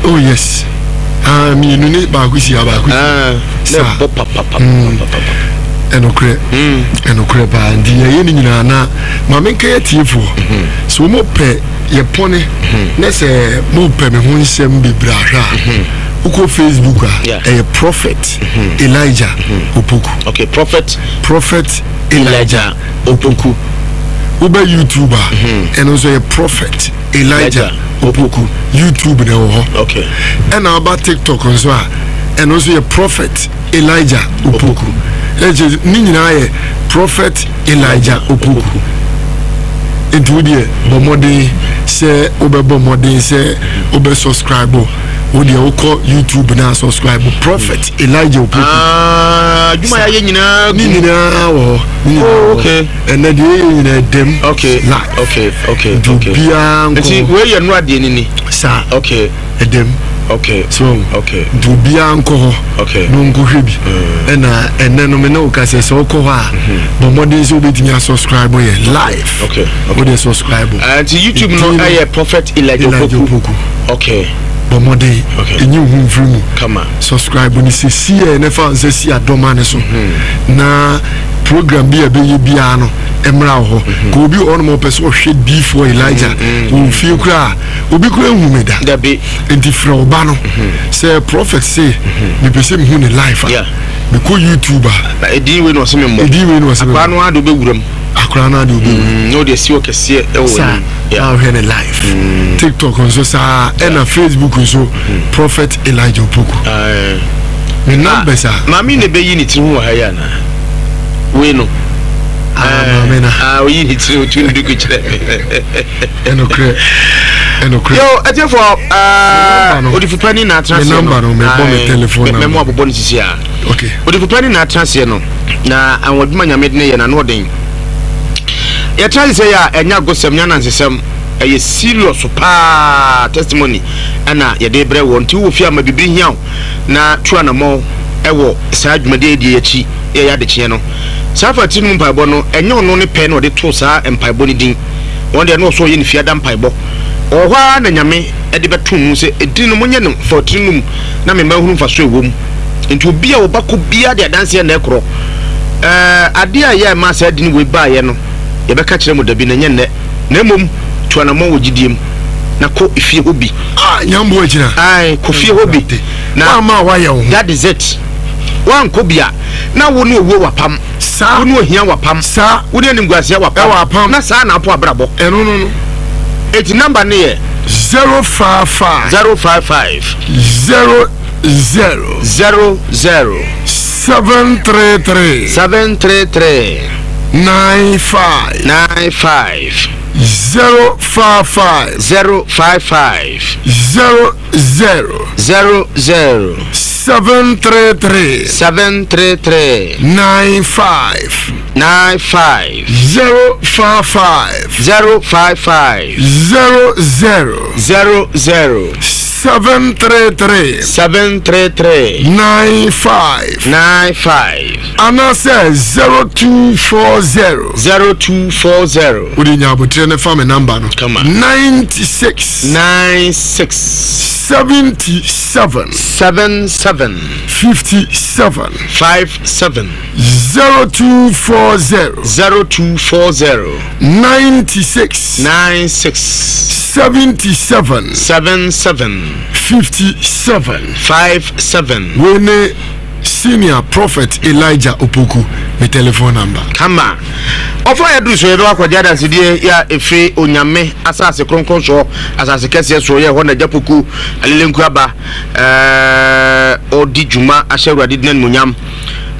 Oh yes. Ah, mmienu ne baako si ha baako si. Ah, na ɛbɔ papapapapapa. Hmm. Ɛnokorɛ. Hmm. Ɛnokorɛ paa nti yɛyɛ ne nyinaa na maame nka yɛ tiefoɔ. Hmm. So wɔn pɛ yɛ pɔne na sɛ mo pɛ me ho nsɛm bebree ahwɛ a. Wokɔ Facebook a ɛyɛ Prophet Elijah Opoku. Okay, Prophet. Prophet Elijah Opoku. Wobɛ YouTube a ɛno nso yɛ Prophet. Elijah Opoku YouTube na ɛwɔ hɔ. Okay. Ɛna aba TikTok nso a ɛno nso yɛ Prophet Elijah Opoku. Ɛkyɛ ne nyinaa yɛ Prophet Elijah Opoku. Nti wo deɛ bɔ mmɔden sɛ wobɛbɔ mmɔden sɛ wobɛ subscribe wo deɛ wokɔ YouTube na subscribe Prophet Elijah Opoku. Ah, adwuma yɛ nyinaa ne nyinaa wɔ hɔ. Oh, okay. Ɛnɛ deɛ yɛyɛ nyinaa dɛm. Okay. Live. Okay, okay, nti okay. obiara nkɔ. Nti wei yɛ nnora deɛ ni ni. Saa. Okay. Ɛdɛm. Okay. So. Okay. Nti obiara nkɔ hɔ. Okay. Na ɔnkɔhwɛ bi. Ɛna ɛnɛ no me ne wo ka sɛ sɛ wokɔ hɔ a mm-hmm. bɔ mmɔden sɛ wobɛtumi asubscribe yɛ live. Okay. Okay. Wode subscribe. Uh, nti YouTube no ɛyɛ Prophet Elijah Opoku. Okay. Bɔ mmɔden. Okay. Ɛnyi wo ho mfiri mu. Kama. Subscribe ne sɛ si yɛ ne fa nsɛ si adɔma ne so. Mm-hmm. Na program bi a ɛbɛyɛ biara no mmra wɔ hɔ mhm. ka obi wɔ hɔnom ɔpɛ sɛ ɔhwɛ diifoɔ Elijah mhm. wɔ fie koraa obi koraa nhu me da nti frɛ ɔba no mhm. sɛ prophet se mepɛ sɛ mehu ne life a mekɔ YouTube a ɛdin wei na ɔsɛ me mmɔ ɛdin wei na ɔsɛ me mmɔ akora no ade wobɛwura mu akora no ade wobɛwura mu na ɔde asi hɔ kɛseɛ ɛwɔ saa na ɔhwɛ ne life TikTok nso saa ɛna Facebook nso prophet Elijah Opoku ne numbers a maame na ɛbɛyi ne tiri ho wɔ ha yi anaa wei no ah, maame na ah, oyi ne tiri otu ne duku kyerɛ ɛnokorɛ ɛnokorɛ yo ɛtiɛfoɔ odifopani na atena aseɛ no number no mɛbɔ me telephone number mɛmo abobɔ ne sisi a okay odifopani na atena aseɛ no na anwadwuma nyame de ne yɛ na ano ɔden yɛtena ase sɛ yɛ a ɛnyɛ agosɛm nyɛ anansesɛm ɛyɛ serious paa testimony ɛna yɛde brɛ wɔ nti wowɔ fie ama biribi hia wo na tu anammɔn wɔ saa dwumadi a yɛdi yi akyi yɛyɛ adekyeɛ no. Saa fa tiri no mu mpaebɔ no, ɛnyɛ ɔno ne pɛ na ɔde too saa mpaebɔ no din. Wɔn deɛ na ɔsɛ ɔyɛ ne fiada mpaebɔ. Ɔwɔ hɔ ara na Nyame de bɛtoo mu sɛ edin no monyɛ no fa tiri no mu na me mma nhunu mfasoɔ a ɛwɔ mu. Nti obi a ɔba kɔ biara de adanseɛ na ɛkorɔ. Ɛɛ adeɛ a ɛyɛ a ɛmaa saa din wei baeɛ no yɛbɛka kyerɛ mo dabi na ɛnyɛ nnɛ. Na mmom tu anammɔn wɔ gyidie mu na kɔ efie hɔ bi. Ah, nyambo agyina. Ae, kɔ fie hɔ bi. Na Woamma a woayɛ wo ho. That is it. Woankɔ bi a, na wo ne owuo wapam. Saa. Wo ne ohia wapam. Saa. Wo ne animguaseɛ wapam. Ɛwɔ apam. Na saa na apo abrabɔ. Ɛno no no. Eti number no yɛ. 055. 055. 00. 00. 733. 733. 95. 95. 055. 055. 00. 00. 733. 733. 95. 95. 055. 055. 00. 00. 733. 733. 95. 95. Anaasɛ 0240. 0240. Wode nya abotire no fa me namba no. Kama. 96. 96. 77. 77. 57. 57. 0240. 0240. 96. 96. 77. 77. 57. 57. Wei ne Senior Prophet Elijah Opoku me telephone number. Kama. Ɔfa a yɛaduru so yɛbɛkɔ akɔgye adansedie yɛ a ɛfiri Onyame asase kronkron soɔ, asase kɛseɛ soɔ, yɛ hɔ na Agya Poku Alelenku aba ɛɛ ɔdi dwuma ahyɛ Awurade din animuonyam.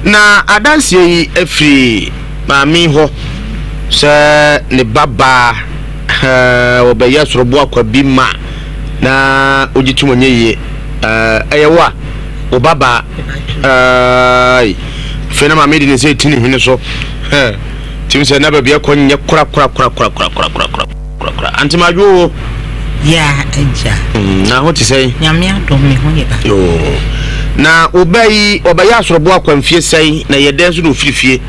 Na adanseɛ yi ɛfiri maame yi hɔ sɛ ne ba baa ɛɛ ɔbɛyɛ sorobo akwa bi ma na ɔgye tom ɔnyɛ yie ɛɛ ɛyɛ wo a wo ba baa ɛɛi afei na maame de ne nsa eti ne hwene so hɛ tim sɛ na baabi ɛkɔ nyɛ kora kora kora kora kora kora kora kora kora kora ante ma adwo o. Ya agya. Mm, na ho te sɛn? Nyame adom me ho yɛ ba. Yoo. Na wo ba yi ɔbɛyɛ asorobo akwanfie sɛn na yɛ dɛn so na ofiri fie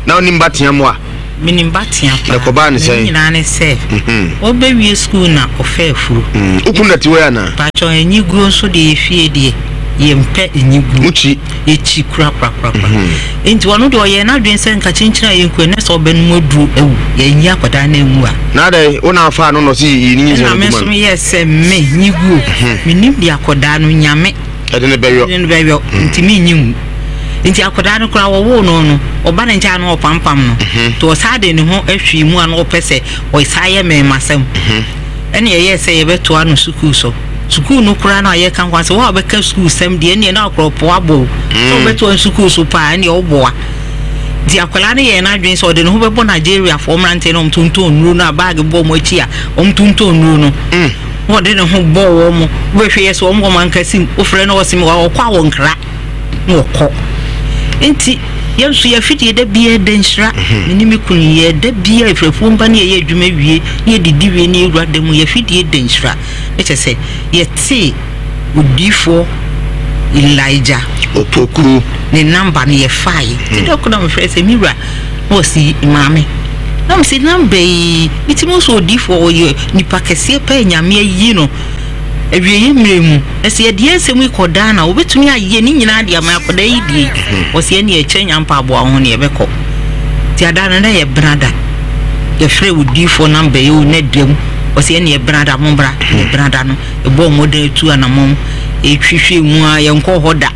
na onim ba tea mo a? Menim Batea paa. Na kɔbaa ne sɛn? Ne nyinaa ne sɛ, ɔbɛwie sukuu na ɔfɛ afuro. Wokunu na te wei anaa? Pakyɛ enyiguo nso deɛ yɛfie deɛ yɛmpɛ enyiguo. Mokyi? Yɛkyi korakorakorakora. Nti ɔno deɛ ɔyɛɛ n'adwene sɛ nka kyenkyen a yɛnku ɛnɛ sɛ ɔbɛnom aduro awu. Yɛnyi akwadaa no anwu a. Na adɛn wo na afaa no na ɔse yi ne nyinsɛn Ɛna no me gu ma nso no? meyɛɛ sɛ me nyiguo. Menim deɛ akwadaa no Nyame. Ɛde no bɛyɔ. Ɛde no bɛyɔ. Nti menyi nwu. Nti akwadaa no koraa wɔwoo no no, ɔba ne nkyɛn a na ɔpampam no. Nti ɔsan de ne ho ahwii mu a na ɔpɛ sɛ ɔsan yɛ mmarimasɛm. Ɛna ɛyɛɛ sɛ yɛbɛtoa no sukuu so. Sukuu no koraa no a yɛka ho asɛm, wo a wobɛka sukuusɛm deɛ ɛnneɛ na akorɔpoa bɔ wo. Sɛ wobɛtoa no sukuu so paa ɛnneɛ woboa. Nti akwadaa no yɛɛ n'adwene sɛ ɔde ne ho bɛbɔ Nigeriafoɔ mmeranteɛ no a wɔtontɔn nnuro no a baage bɔ wɔn akyi a wɔtontɔn nnuro no. Na ɔde ne ho bɔɔ wɔn. Wobɛhwɛ yɛ sɛ wɔn wɔ mankasi mu. Wofrɛ no ɔse ɔkɔ a wɔnkra. Na ɔkɔ. Nti yɛn nso yɛn afidie da biara da nhyira. Me ne me kunu yɛ da biara ɛfiri afuom ba ne yɛyɛ adwuma wie ne yɛdidi wie ne yɛwura da mu yɛn afidie da nhyira. Ne kyerɛ sɛ yɛtee odiyifoɔ Elijah Opoku ne namba no yɛfaeɛ. Nti da koro na mefrɛ sɛ me wura na ɔsi maame. Na mese namba yi metumi hu sɛ odiyifoɔ ɔyɛ nipa kɛseɛ paa Nyame ayi no. Awieeɛ mmerɛ mu, na sɛ yɛde yɛn nsɛm yi kɔ daa no a, wɔbɛtumi ayɛ ne nyinaa de ama akwadaa yi die. Wɔsi ɛnneɛ ɛkyɛ nya mpaboa ho ne yɛbɛkɔ. Nti ada no na yɛ benada. Yɛfrɛ odiyifoɔ namba yi o na da mu. Wɔsi ɛnneɛ benada mommra. Ɛnneɛ benada no, yɛbɔɔ mmɔden atu anamɔn. Yɛhwehwɛɛ mu ara, yɛnkɔɔ hɔ da.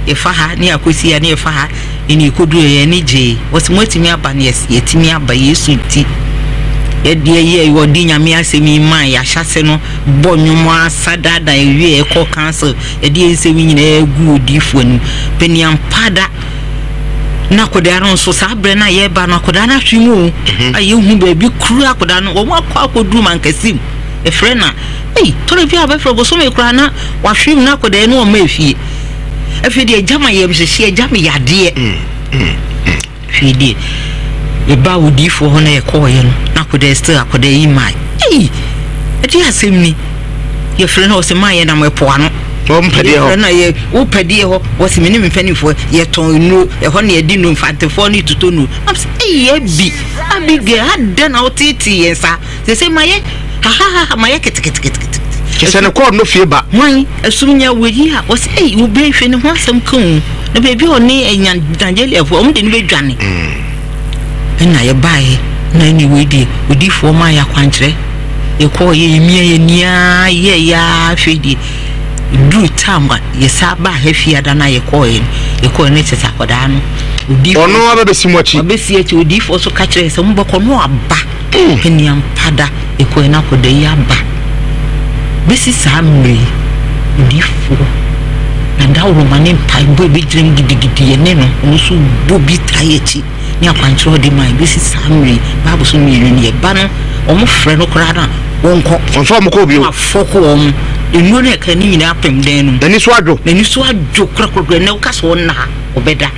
Yɛfa ha ne yɛakɔsi ha ne yɛfa ha. Ɛnna yɛkɔduruiɛ, yɛn ani gyee. Wɔse, Moatumi aba no? Yɛse, Yɛatumi aba, Yesu nti. Yɛdeɛ yɛ, wɔde Nyame asɛm yi maa yɛ ahyɛase no, bɔ nnwom ara sa daadaa yɛwie a, yɛkɔɔ council, yɛde yɛn nsɛm yi nyinaa guu odiyifoɔ anim. Paniampa da na akwadaa no nso, saa berɛ no a yɛreba no, akwadaa no ahwe mu o, a yɛnhu baabi kura akwadaa no, wɔn akɔ akɔduru Mankasim, yɛfrɛ no a, ei, tɔrɔ bi a wɔbɛfrɛ bosome koraa na wahwe mu na akwadaa no ɔmma efie. Afei deɛ agya ma yam hyehye, agya me yadeɛ. Afei deɛ yɛbaa odiyifoɔ hɔ na yɛkɔɔeɛ no, na akɔda still akɔda yi mae. Ei, ɛde asɛm ni. Yɛfrɛ no ɔsɛ maa yɛnam ɛpo ano. Wɔmpɛdeɛ hɔ. Yɛfrɛ no yɛ wopɛdeɛ hɔ. Wɔsɛ me ne me mpanimfoɔ yɛtɔn nnuro. Ɛhɔ na yɛde nnuro mfantefoɔ ne totɔ nnuro. Nam sɛ ei Abi, Abigail adɛn na woteetee yɛn saa? Sese mayɛ hahahaha mayɛ keteketekete. Kyɛ sɛ ne kɔɔd no fie ba. Hwan? Ɛsom nya wɔ yi a wɔsɛ ei wo bɛ hwɛ ne ho asɛm ka o. Na baabi a ɔne anya Nigeriafoɔ wɔn de no bɛdwane. Ɛna yɛbaeɛ na ɛne wei deɛ odiifoɔ maa yɛ akwankyerɛ. Yɛkɔɔ yɛ yɛmia yɛ nia yɛ yɛ afei deɛ duru tam a yɛsa baa ha fiada no a yɛkɔɔɛ no yɛkɔɔɛ no kyɛ sɛ akwadaa no odiifoɔ ɔno abɛbɛsi mu akyi. Ɔbɛsi akyi odiifoɔ so ka kyerɛ sɛ mobɛkɔ no aba. Ɛnni ampa da ɛkɔɛ na akɔda yi aba bɛsi saa mmerɛ yi odiyifoɔ na dawuroma ne mpaebɔ ɛbɛgyina mu gidigidi yɛne no ɔno nso bɔ bi taa yɛ akyi ne akwankyerɛ ɔde ma bɛsi saa mmerɛ yi Bible so mmienu no yɛba no wɔn frɛ no koraa no a wɔnkɔ wɔmfa wɔn kɔ bio afɔko wɔn nnuro no ɛka ne nyinaa apem dan no mu n'ani so adwo n'ani so adwo korakorakora na woka sɛ ɔnna ha ɔbɛda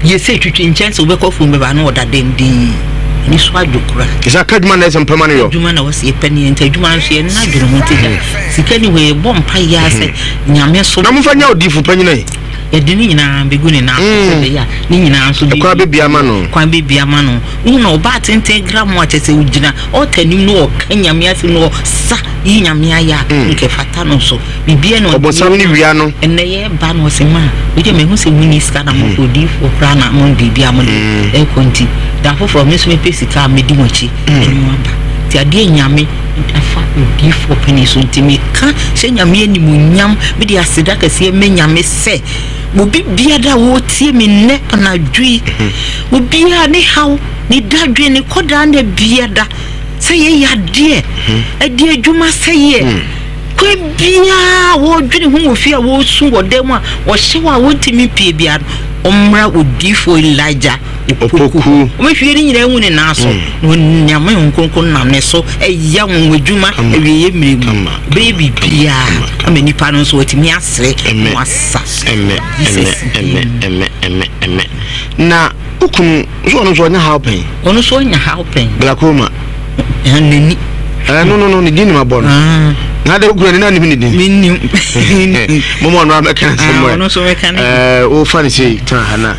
Yɛ sɛ twitwi nkyɛn sɛ wobɛkɔ afuom bɛba na ɔda dɛm dinn. Ani so adwo koraa. Kyɛ sɛ aka adwuma na ɛsɛ mpɛma no yɔ. Adwuma na wɔsɛ yɛpɛ no yɛ nti adwuma nso yɛn nna adwene ho nti gya sika ni hɔ yɛbɔ mpa yɛ ara sɛ Nyame so. Na momfa nyɛ odiyifo panyin ɛ. Yɛde ne nyinaa bɛgu ne nan so sɛ ɛbɛyɛ a ne nyinaa nso Ɛkwan bɛbue ama no. Kwan bɛbue ama no. Wohu no ɔbaa tenten gramoo a kyerɛ sɛ ɔgyina altar anim na ɔka Nyame asɛm na ɔsa yi Nyame ayɛ a nka ɛfata no nso. Biribiara na ɔde Ɔbonsam ne wia no. Ɛnnɛ yɛreba no ɔse ma wei deɛ mahu sɛ monni sika na mokɔ odiyifoɔ koraa na mo biribi a mode ɛrekɔ nti da foforɔ me nso mepɛ sika a mɛdi mo akyi ɛne mo aba nti adeɛ Nyame afa odiyifoɔ panin so nti meka hyɛ Nyame animuonyam mede aseda kɛseɛ mɛ Nyame sɛ obi biara a wɔretie me nnɛ anadwo yi obiara ne haw ne dadwen ne kɔdaa na biara sɛ yɛyɛ adeɛ ɛde adwuma sɛeɛ Kwan biara a wɔredwene ho wɔ fie a wɔresu wɔ dan mu a ɔhyew a wɔntumi mpue biara no, ɔmmra odiyifoɔ Elijah Opoku hɔ. Wɔbɛhwie ne nyinaa agu ne nan so, na Onyame Honhom Kronkron nam ne so ɛyɛ anwanwadwuma awieeɛ mmerɛ mu. Ɔbɛyɛ biribiara ama nnipa no nso wɔatumi asere na wɔasa. Jesus din mu. Na wo kunu nso ɔno nso ɔnya haw pɛn? Ɔno nso ɔnya haw pɛn. Glaucoma. N'ani. Eh, no, no, no, ne din nim abɔ no. Ah. Na de okura ne na nim ne din. Menim. Mo mo no abɛka nsɛm mo. Ɔno nso bɛka ne. Eh, wo fa ne sei tena ha na.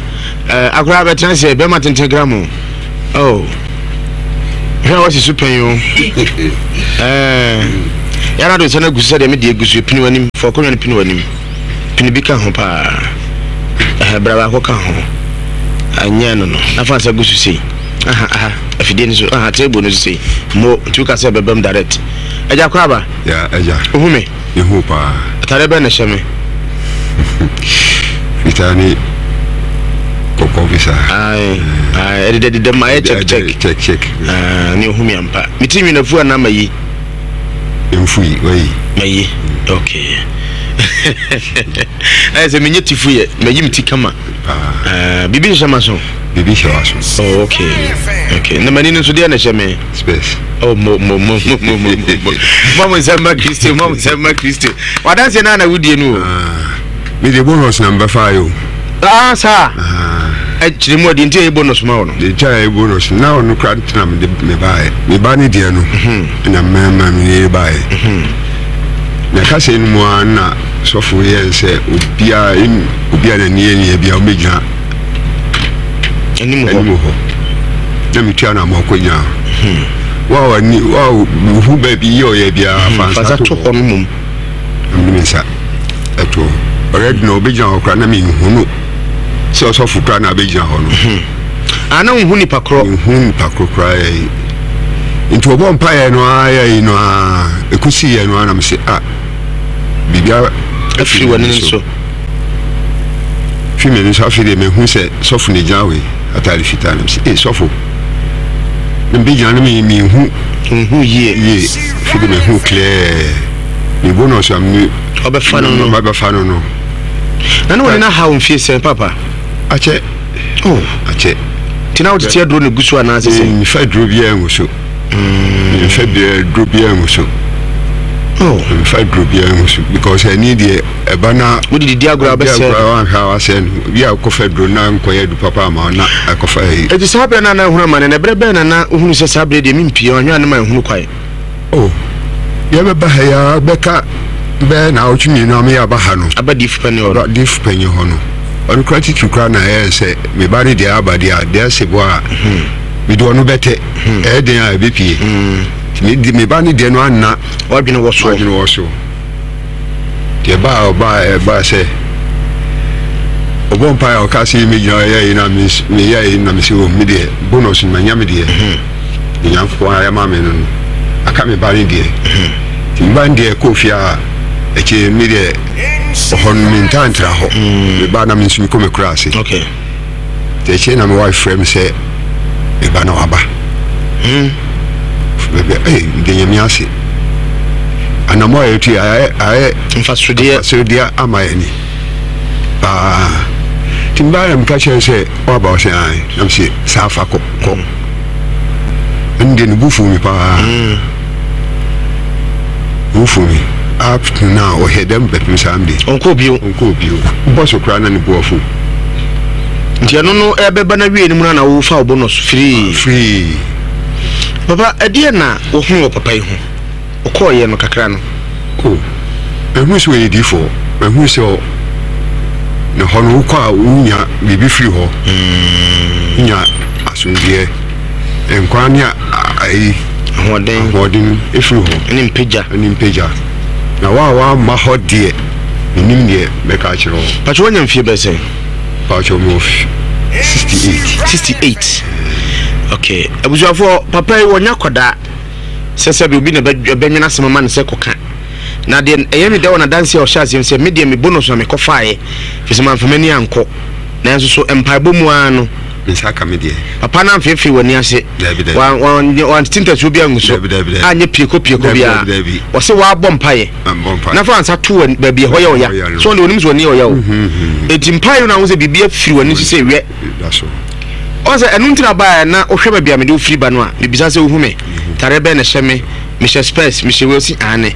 Eh, akora abɛtena sɛ bɛma tenten gram o. Oh. Hwɛ a wasi so pɛn o. Ɛɛ yɛn ado nsa no agu so sɛdeɛ mede agu so pini w'anim fa ɔkɔnwa no pini w'anim pini bi ka ho paa ɛhɛ bra baako ka ho anyɛ no no na fa nsa gu so sei aha aha afidie no so aha table no so sei mo nti woka sɛ ɛbɛbam direct agya kɔ aba ya agya wohu me mehu paa atare bɛn na ɛhyɛ me fitaa ne kɔkɔɔ bi saa ae ae ɛdedɛdedɛ mu ayɛ check check check check ah ne ohu me ampa me ti nwi na fu anaa mayi mfui wayi mayi okay ɛyɛ sɛ menyɛ ti fu yɛ mayi me ti kama ah biribi hyehyɛ ma so biribi hyɛ wa so oh okay okay na m'ani no nso deɛ na ɛhyɛ me space oh mo mo mo mo mo mo mo mo mo nsɛm ma kristo mo mo nsɛm ma kristo wadanseɛ no a na wodie no o ah, me de bonus na mbɛfa yo ah saa ɛkyerɛ mu ɔde nti ɛyɛ bonus ma wo no de kyɛ ɛyɛ bonus na ɔno kora tena me de me baeɛ me ba ne deɛ no mhm. na mmarima me ne baeɛ mhm. Na kasa no mu ara na sɔfo yɛ sɛ obiara obiara n'ani yɛ nea bia ɔbɛgyina anim hɔ na metua no ama ɔkɔgyina hmm. wa wani wa wohu baabi yɛ ɔyɛ biara hmm, fa nsa to hɔ no mmom na mede me nsa ɛto hɔ ɔrɛdi na ɔbɛgyina hɔ koraa na menhu no sɛ ɔsɔfo koraa na abɛgyina hɔ no hmm. ana ah, wohu nipa korɔ nhu nipa korɔ koraa yɛ nti ɔbɔ mpaeɛ no ara yɛ no ara ɛkɔsi yɛ no ara na mese ah biribiara afiri w'ani so fi m'ani so afei deɛ mehu sɛ sɔfo na gyina wei ataade fitaa na mesɛ ee sɔfo na mebɛgyina no mehu nhu yie yie afei deɛ mehu clear me bonus a me ɔbɛfa no no ɔbɛfa no no na ne wɔne no ahaw mfie sɛn papa akyɛ oh akyɛ nti na wotete aduro no gu so anaasɛ sɛ mefa aduro biara ngu so Mfa duro biara ngu so. Oh. Mfa duro biara ngu so because ɛni deɛ ɛba na. Wode didi agorɔ abɛsɛ. Agorɔ wanhwɛ a wasɛ no. Bi a kɔfa duro na nkɔyɛ du papa ama na akɔfa yi. Eti saa berɛ na na ehunu amane na ɛberɛ bɛn na na wohunu sɛ saa berɛ deɛ mempie ɔhwɛ a ne ma ehunu kwae. Oh. Yɛbɛba ha yi ara bɛka bɛyɛ naawɔtwe mmienu a meyɛ aba ha no. Aba diifo panyin hɔ no. Aba diifo panyin hɔ no. Ɔno koraa titiri koraa na ɛyɛ sɛ me ba no deɛ aba deɛ a deɛ ɛsɛ bo a. Mede ɔno bɛtɛ. Ɛyɛ den a ɛbɛpie. Nti me ba no deɛ no anna. Wadwene wɔ soɔ. Wadwene wɔ so. Nti ɛbaa ɔbaa ɛbaa sɛ ɔbɔ mpaeɛ a ɔka sɛ mɛgyina yɛ yi na meyɛ yi na mesɛ o me deɛ bonus no manya me deɛ. Ne Nyankopɔn ayɛ ma me no no aka me ba no deɛ. Nti me ba no deɛ kɔɔ fie a akyire me deɛ ɔhɔ no mentaa ntra hɔ. Me ba na me nso mekɔ m'akura ase. Okay. Nti akyire na me wife frɛ me sɛ me ba na waba. Hmm. Baabi a ee mede nyame ase. Anamɔ a yɛtu ayɛ ayɛ mfasodeɛ mfasodeɛ ama yɛn ni paa. Nti mbaa na meka kyerɛ sɛ waba ɔsɛ ae na mese saa fa kɔ kɔ. Ɛno deɛ ne bo fuu me paa. Hmm. Bo fuu me. Up to now ɔhɛ dɛm bɛpem saa mde. Ɔnkɔɔ bio. Ɔnkɔɔ bio. Bɔ so koraa na ne bo afu. Nti ɛno no ɛbɛba no awie no mu no na wofa wo bonus firii. Firii. Papa ɛdeɛ na wohunu wɔ papa yi ho? Ɔkɔɔyɛ no kakra no. Oh, mahunu sɛ ɔyɛ diifoɔ. Mahunu sɛ ne hɔ no wokɔ a wonya biribi firi hɔ. Wonya asomdwoeɛ, nkwa ne ayi. Ahoɔden. Ahoɔden firi hɔ. Ne mpagya. Ne mpagya. Na wo a woamma hɔ deɛ, mennim deɛ mɛka akyerɛ wo. Pakyɛ woanya mfie bɛyɛ sɛn? Pakyɛ mewɔ 68. 68. Okay. Abusuafoɔ, papa yi wɔnyɛ akwadaa sɛ sɛbi obi na ɛbɛnwene asɛm ama no sɛ kɔka. Na deɛ ɛyɛ me dɛ wɔ n'adanseɛ a ɔhyɛ aseɛ no sɛ me deɛ me bonus na mekɔfaeɛ firi sɛ mamfa m'ani ankɔ. Nanso so mpaebɔ mu ara no. Me nsa aka me deɛ. Papa no amfeefee w'ani ase. Dabi, dabi. Wan, wan, wantete ntasuo bi angu so. Dabi, dabi, dabi. Anyɛ pieko pieko Dabi, biara. dabi, dabi. Ɔse wabɔ mpaeɛ. Mabɔ mpaeɛ. Na fa nsa to w'ani baabi ɛhɔ yɛ ɔya. Ɛhɔ yɛ no. So ɔno deɛ onim sɛ w'ani yɛ ɔya o. Enti mpaeɛ no na wohu sɛ biribi afiri w'ani so sɛ wɛ. Da so. Ɔn sɛ ɛno nti na baeɛ na wohwɛ baabi a mede wo firi ba no a, mebisa sɛ wohu me? Tareɛ bɛn na ɛhyɛ me? Mehyɛ spɛs, mehyɛ wei, ɔse aane.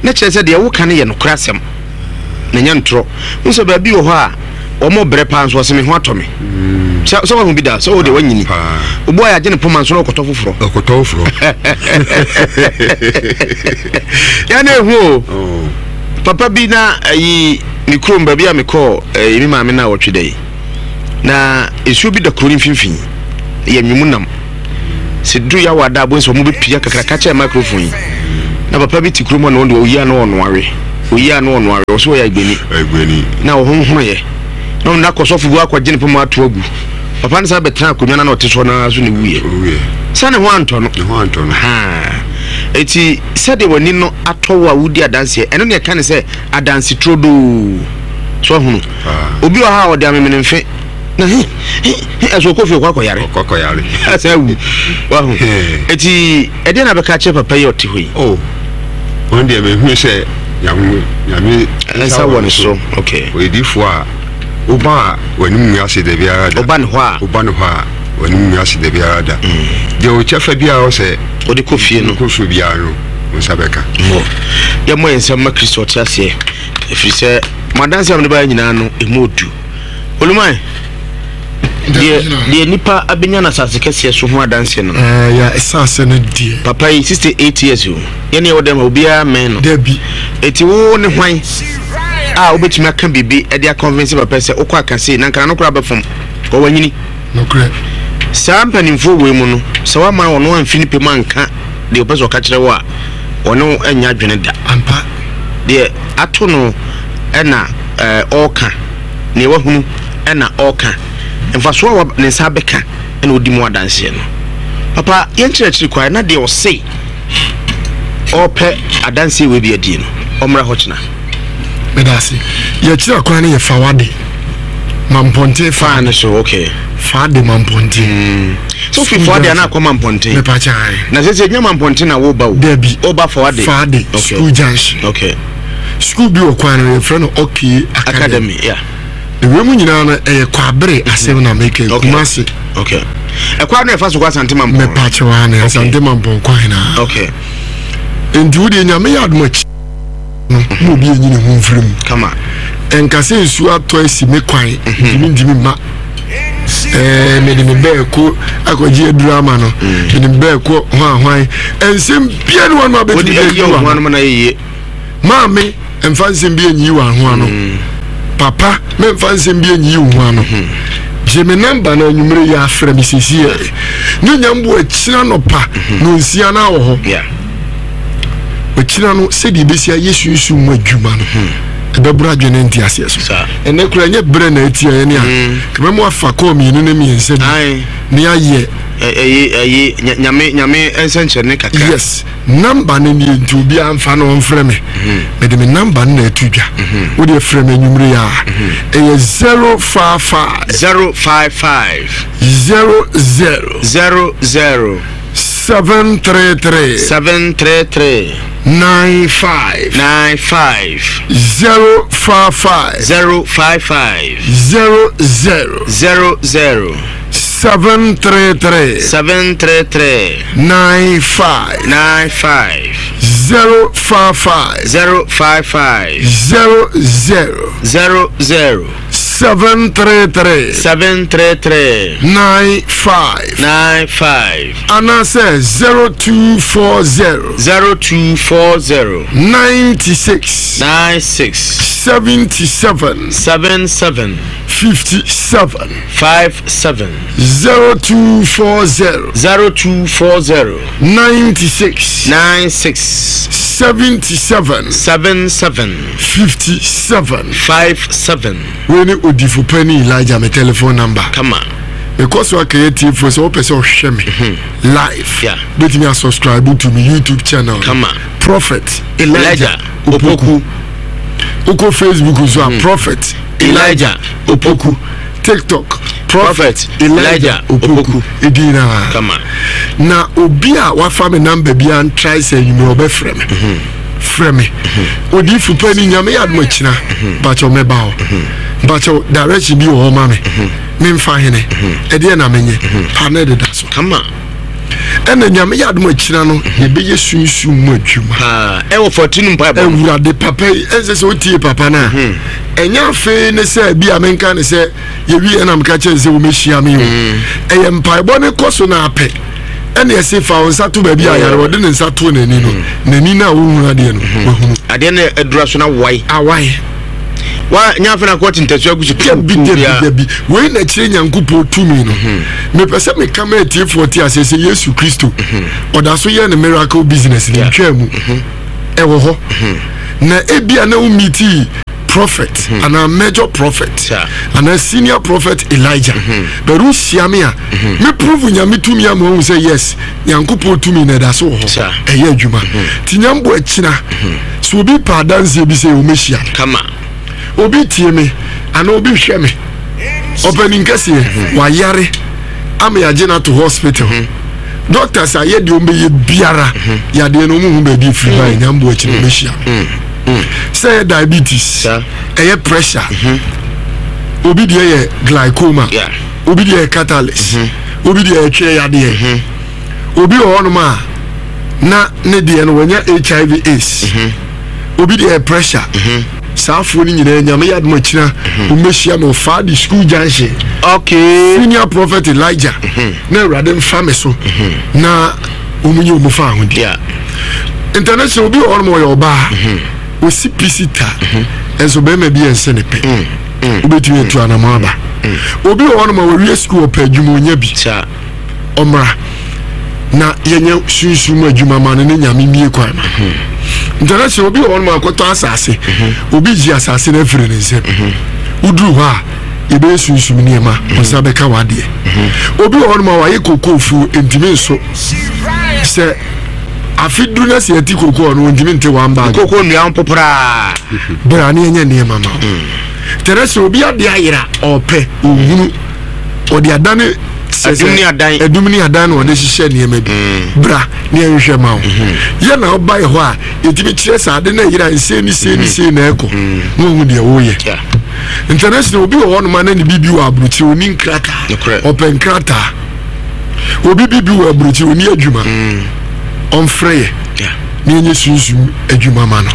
Na kyerɛ sɛ deɛ woka no yɛ nokorɛ asɛm. Na ɛnyɛ ntorɔ. Wohu sɛ baabi wɔ hɔ a, wɔn brɛ paa nso ɔse me ho atɔ me. Sɛ sɛ wahu bi da sɛ wo deɛ wanyini. Obu a yɛagye ne poma nso na ɔkɔtɔ foforɔ. Ɔkɔtɔ foforɔ. Yɛn na ehu o. Oh. Papa bi na ayi ne kurom baabi a mekɔɔ ɛyi me maame na ɔtwe dɛ yi. Na nsuo bi da kuro no mfimfini. Yɛ nwemu nam. Sɛ duru yɛ awɔ ada abɔ nsɛ wɔn bɛpia kakraka kyɛn microphone yi. Na papa bi te kurom hɔ na ɔno deɛ ɔyi ano ɔno awe. Ɔyi ano ɔno awe. Ɔso ɔyɛ agbeni. Agbeni. Na ɔhonhono yɛ. Na ɔno akɔ sɔfo bi akɔgye ne poma ato agu. Papa no san bɛtena akonnwa no na ɔte soɔ no ara so na ɛwuiɛ. Owuiɛ. Sɛ ne ho antɔ no. Ne ho antɔ no. Haa. Eti sɛdeɛ w'ani no atɔ wo a wodi adanseɛ, ɛno na ɛka ne sɛ adanse turodoo. So ahunu. Obi wɔ ha a ɔde amemenemfe na he he he ɛso ɔkɔ fie ɔkɔ akɔyare. Ɔkɔ akɔyare. Asa awu. Wahu. Eti ɛdeɛ na bɛka akyerɛ papa yi ɔte hɔ yi? Oh. Wɔn deɛ mehunu sɛ nyame nyame nsa wɔ ne so. Okay. Ɔyɛ difoɔ a woba a w'anim ngu ase da biara da. Woba ne hɔ a. Woba ne hɔ a w'anim ngu ase da biara da. Deɛ wo kyɛfa biara ɔsɛ. Wode kɔ fie no. Kɔ fie biara no wo nsa bɛka. Mmɔ. Yɛmmɔ yɛn nsam ma Kristo ɔte aseɛ. Ɛfiri sɛ mo adanseɛ a mode baeɛ nyinaa no ɛmu odu. Oluman, deɛ deɛ nipa abɛnya no asase kɛseɛ so ho adanseɛ no. Ɛɛ ya asase no deɛ. Papa yi 68 years o. Yɛne ɛwɔ dɛm a obiara mmɛn no. Dabi. Eti wo ne hwan a wobɛtumi aka biribi de akɔnvinse papa sɛ wokɔ aka sei na nkana no koraa bɛfom kɔ wanyini. Nokorɛ. Saa mpanimfoɔ wei mu no sɛ woama ɔno amfi ne pɛ mu anka deɛ ɔpɛ sɛ ɔka kyerɛ wo a ɔne wo nyɛ adwene da. Ampa. Deɛ ato no na ɔreka, deɛ wahunu na ɔreka, mfasoɔ a ne nsa abɛka na ɔdi mu adanseɛ no. Papa, yɛnkyerɛkyerɛ kwae na deɛ ɔse ɔrepɛ adanseɛ wei bi adie no, ɔmmra hɔ kyena. Meda ase. Yɛkyerɛ kwan no yɛ fa wade Mampɔnten fa ne so okay. Fa de Mampɔnten. Mm. So fi fa de ana akɔ Mampɔnten. Mepa kyɛ. Na sɛ sɛ nya Mampɔnten na wo ba o. Dabi. O ba fa wade. Fa de okay. School junction. Okay. School bi wɔ kwan no yɛfrɛ no Okay Academy. Academy yeah. Ewia mu nyinaa no ɛyɛ kwabere asɛm na meka okay. Kumasi. Okay. Ɛkwan no ɛfa so kɔ Asante Mampɔn. Mepa kyɛ wa ne Asante Mampɔn kwan na. Okay. Nti wo deɛ nyame yɛ adom akyi. no na obi enyi ne ho mfiri mu. Kama. Ɛnka sɛ nsuo atɔ asi me kwan mhm. ntumi ntumi mma. Ɛɛ mede me bɛɛ ko akɔgye aduru ama no. Mm. Mede me bɛɛ ko hwan hwan. Nsɛm bia ne wɔn abɛtumi de ayi wɔn ano. Maame mfa nsɛm bi enyi wɔn ho ano. Mm. Papa memfa nsɛm bi enyi wɔn ho ano. Mm. Gye me namba na anwummere yɛ afrɛ me sisi yɛ. Ne nyambo akyina nɔpa mhm. na onsia na wɔ hɔ. Ɔkyina no sɛdeɛ ɛbɛsi ayɛ sunsum mu adwuma no hmm. ɛbɛboro adwene ne nteaseɛ so ɛnɛ kora ɛnyɛ berɛ na atia yɛne a hmm. kɛmɛ mu afa kɔɔ mmienu ne mmiɛnsa bi ne ayɛ ɛyi nyame nyame nsɛnkyerɛnne kakra yes namba no nie nti obiara mfa no ɔmfrɛ me hmm. mede me namba no na ɛto dwa wode frɛ me anwummere yi a ɛyɛ 055 055 00 00 733. 733. 95. 95. 055. 055. 00. 00. 733. 733. 95. 95. 055. 055. 00. 00. 733. 733. 95. 95. Anaasɛ 0240. 0240. 96. 96. 77. 77. 57. 57. 0240. 0240. 96. 96. 77. 77. 57. 57. Wei ne odifo panin Elijah me telephone number. Kama. Mekɔ so aka yɛ tiefoɔ sɛ wopɛ sɛ ɔhwɛ me mhm. live. Yeah. Bɛtumi asubscribe to me YouTube channel. Kama. Prophet Elijah Opoku. Wokɔ Facebook nso a mm. Prophet Elijah Opoku. TikTok Prophet Elijah Opoku. Edin na. Kama. Na obi a wafa me number bi an try sɛ enyimire ɔbɛfrɛ me. Mm -hmm. Frɛ me. Mm-hmm. Odifo pa ni nyame yɛ adom akyina. Mpakyɛw mɛba hɔ. Mpakyɛw direction bi wɔ hɔ ma me. Memfa hene. Ɛdeɛ na menyɛ. Pa na ɛdeda so. Kama. Ɛna nyame yɛ adom akyina no yɛbɛyɛ sunsum mu adwuma. Ɛwɔ fɔtinu mpaebɔ. Awurade papa yi ɛnsɛ sɛ wotie papa no a. Ɛnyɛ afei ne sɛ bi a menka ne sɛ yɛwie ɛna meka kyerɛ sɛ wɔmɛhyia me o. Ɛyɛ mpaebɔ ne kɔ so na apɛ. Ɛna ɛse fa wo nsa to baabi a yare wɔde ne nsa to n'ani no n'ani no a wohunu adeɛ no wahunu. Adeɛ no adura so na wae. Awae. Wa nya afei na akɔ te ntasua agu so Dabi dabi dabi. Wei na kyerɛ Nyankopɔn tumi no. Mhm. Mepɛ sɛ meka ma atiefoɔ te aseɛ sɛ Yesu Kristo mhm. ɔda so yɛ ne miracle business ne ntwaa mu. Mhm. Ɛwɔ hɔ. Na ebia na wo meetii prophet mm -hmm. anaa major prophet anaa senior prophet Elijah mm -hmm. but wohyia me a mm -hmm. me prove nyame tumi ama wahu sɛ yes Nyankopɔn tumi na ɛda so wɔ hɔ ɛyɛ adwuma nti nyambo akyina sɛ obi pɛ adanseɛ bi sɛ wɔmɛhyia kama obi tie me anaa obi hwɛ me ɔpanin kɛseɛ mhm. wayare ama yɛagye no ato hospital mhm. doctors ayɛ deɛ ɔmbɛyɛ biara mhm. yadeɛ no ɔmuhu baabi ɛfiri ba nyambo akyi no ɔmɛhyia no sɛ ɛyɛ diabetes ɛyɛ pressure obi deɛ yɛ glaucoma obi deɛ yɛ catalyst obi deɛ ɛtwe yadeɛ mhm. obi wɔ hɔnom a na ne deɛ no wanya hiv aids mhm. obi deɛ pressure mhm. saa afoɔ no nyinaa nyame yɛ adom akyina wɔmmɛhyia me ɔfaa de school junction okay. senior prophet elijah na awurade mfa me so na wɔn nyɛ wɔn fa ahodi international obi wɔ hɔnom ɔyɛ ɔbaa osi pisi ta nso bɛrima bi yɛ nse ne pɛ mm. Mm. Wobɛtumi atu anamɔ aba. Mm. Obi wɔ hɔnom a wɔwie sukuu ɔpɛ adwuma ɔnya bi. Ɔmmra na yɛnyɛ sunsum mu adwuma ma no ne nyame mmie kwan ma. Mm-hmm. International obi wɔ hɔnom a akɔtɔ asase. Mm-hmm. Obi gye asase no afiri ne nsam. Mm-hmm. Woduru hɔ a yɛbɛyɛ sunsum nneɛma ɔnsa bɛka w'adeɛ. Obi wɔ hɔnom a wayɛ kokofuo ntumi nso sɛ afe duru na sɛ yɛte koko ɔno ɔntumi nte one bag. Koko nnua mpoporaa. Bra ne yɛnyɛ nneɛma ma wo. Kyerɛ sɛ obi ade ayera ɔpɛ ɔhunu ɔde adane ɛdum ne adan ɛdum ne adan na ɔde hyehyɛ nneɛma bi mm. bra ne yɛnhwehwɛ ma wo mm-hmm. yɛ na ɔba yɛ hɔ a yɛtumi kyerɛ sɛ ade no ayera nsei ne sei ne mm-hmm. sei na ɛkɔ mm. na ɔhu deɛ woyɛ international obi wɔ hɔnom a na ne biribi wɔ aburokyire ɔni nkrataa ɔpɛ nkrataa obi bibi wɔ aburokyi oni adwuma mm. ɔmfrɛ yɛ na yɛnyɛ sunsum adwuma ma no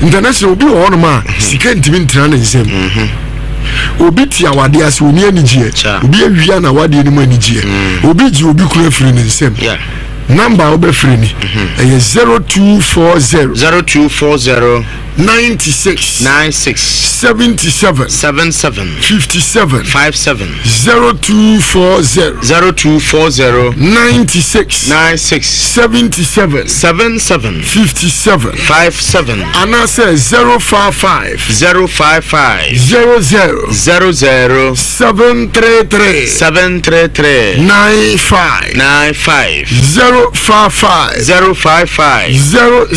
international obi wɔ hɔnom a mhm. sika ntumi ntena ne nsam mhm. obi te awadeɛ ase oni anigyeɛ obi awia na awadeɛ no mu anigyeɛ mm. obi gye obi kura firi ne nsam namba a wobɛfrɛ ni mhm. ɛyɛ 0240 0240 96 96 77 77 57 57 0240 0240 96 96 77 77 57 57 anaasɛ 055 055 00 00 733 733 95 95 055 055 00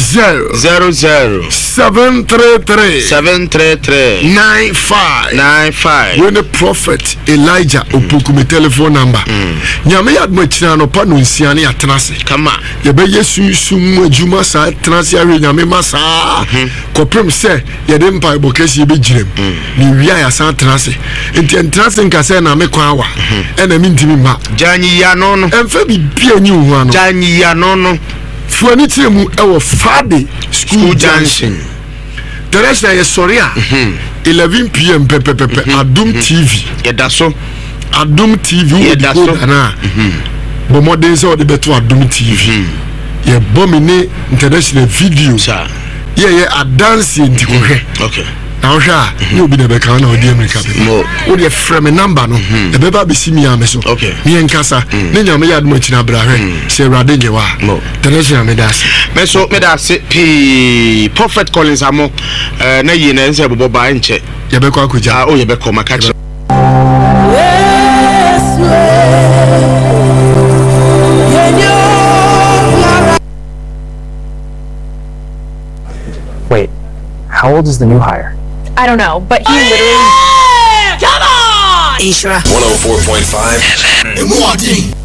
00 733 733 95 95 Wei ne Prophet Elijah Opoku me telephone number. Mm. Nyame yɛ adom akyiri anɔpa no nsia ne yɛatena ase. Kama. Yɛbɛyɛ sunsum mu adwuma saa tena ase ahwɛ Nyame ma saa mhm. kɔpem sɛ yɛde mpaebɔ kɛseɛ bɛgyina mu. Mm. Na ewie a yɛasan atena ase. Nti ɛntena ase nka sɛ na me kwan awa mhm. ɛna mentumi mma. Gya nyiyiano no. Ɛmfa biribi a nyi wo ho ano. Gya nyiyiano no. Fo ani kyerɛ mu ɛwɔ Fade School Junction. Teresa yɛ sɔre a 11 pm pɛpɛpɛpɛ mhm. Adum mhm. TV. Yɛda so. Adum TV wɔ decoder na bɔ mmɔden sɛ ɔde bɛto Adum TV. Yɛbɔ me ne international video. Yɛyɛ adanseɛ nti kɔhwɛ. Okay. Na wohwɛ a ne obi na ɛbɛka na ɔde amirika bɛba wo deɛ frɛ me namba no mhm. ɛbɛba abɛsi mi ame so ne yɛnkasa mm. ne nyame yɛ adom akyina bra hwɛ mm. sɛ awurade nyɛ wɔ a tɛnɛhyɛ meda ase me so meda ase pii prophet collins amo eh, na yie na ɛnsɛ bobɔ baa nkyɛ yɛbɛkɔ akɔgya ah, oh, yɛbɛkɔ maka kyerɛ Wait, how old is the new hire? I don't know, but he literally. Come on! Nhyira 104.5 FM.